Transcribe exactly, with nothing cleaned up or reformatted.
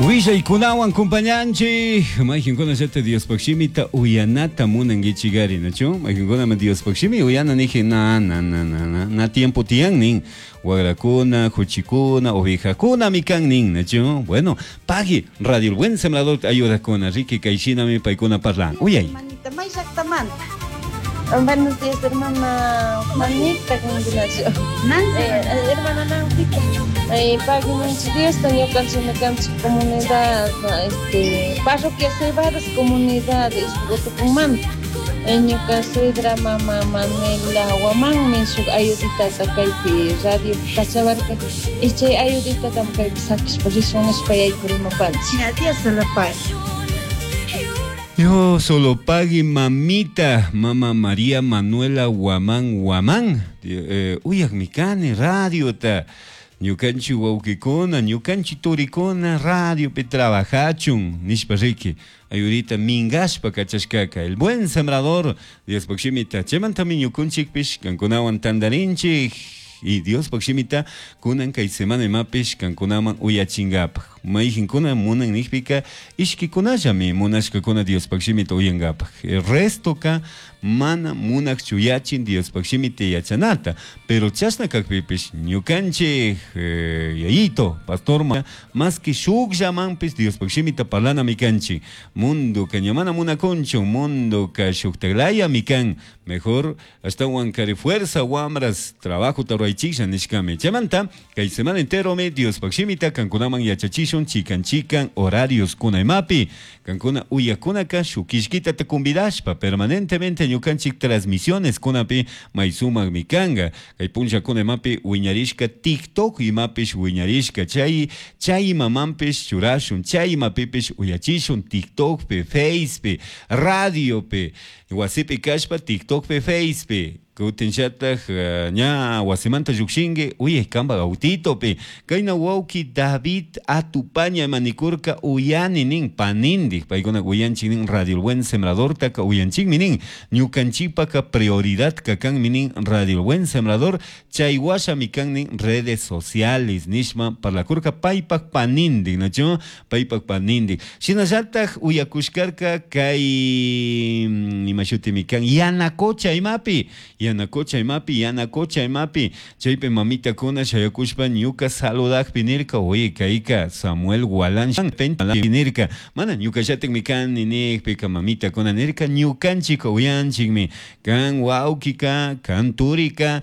Willaykunawan kumpañanchik mayqinkunallata Diospaq shimita uyanata munankichikari, nachu? Mayqinkunami Diospaq shimi uyana niji na na na na na na tiempo tiyan nin wagrakuna, huchikuna, ovejakunami kan nin, nachu? Bueno, pagui Radio El Buen Sembrador ayudakuna riki kay shinami paykuna parlan. Uyay. Hermanita, may llaqtamanta. Buenos días, hermana Juanita, Nancy. Eh, hermana Nancy. Eh, pagui Diosta ñukanchik kanchik comunidad, este, parroquia Cebadas, comunidad Ishpurtupunmanta. Ñuka suegra mama Manuela Guamanmi shuk ayuditata kaypi radio kachawarka y chay ayuditata kaypi sakishpa rishun nishpa yaykurimupanchik. Ya, Dios se lo pague. Dios solo pague mamita, mama María Manuela Guamán Guamán. Eh, uyakmi kani radiota. Ñukanchik wawqikuna, ñukanchik turikuna radiopi trabajachun nishpa riki. Ayudita mingashpa kachashkaka. El Buen Sembrador, Diospaq shimita. Chaymantami ñukunchikpish kankunawan tantarinchik. Y Diospaq shimita kunan kay semana imapish kankunaman uyachingapaj. Mayqinkuna munan nijpika ishkikunallami munashkakuna Diospaq shimita uyankapaj. El restoka mana munaq chuyachin Diospaq shimita yachanata. Pero chashna kakpipish ñukanchik eh, yayito, pastor ma, más que shukllamanpish Diospaq shimita parlanami kanchik. Mundo ka ña mana munakunchu, mundo ka shuktaklaya kan. Mejor ashtawan kari fuerza wamras trabajo tarwaychiklla nishkami. Chaymanta kay semana enteromi Diospaq shimita kankunaman yachachishun chikan chikan horarios kuna imapi. Kankuna uyakunaka shukishkita te convidashpa permanentemente ñukanchik transmisiones kunapi may sumakmi kanga. Kay punllakuna imapi wiñarishka TikTok imapish wiñarishka chay chay imamanpish churashun chay imapipish uyachishun TikTokpi, Facepi, radiopi, wasipi kashpa TikTokpi, Facepi. Kutinllataj uh, ña wasimanta llukshinki uyay kanpak autitopi kayna wawki David Atupaña manikurka uyani nin panindik paykuna uyanchik nin Radio El Buen Sembradortaka uyanchikmi nin ñukanchikpaka prioridad kanmi nin Radio El Buen Sembrador chay washami kan nin redes sociales nishma parlakurka paypak panindik, nachu? Paypak panindik shinallataj uyakushkarka kay ima shutimi kan Yanacocha imapi Yanacocha imapi Yanacocha imapi chaypi mamitakuna shayakushpa ñuka saludakpi nirka oye kayka Samuel Gualán nirka mana ñukallatikmi kani nikpika mamitakuna nirka ñukanchik uyanchikmi kan wawkika kan turika.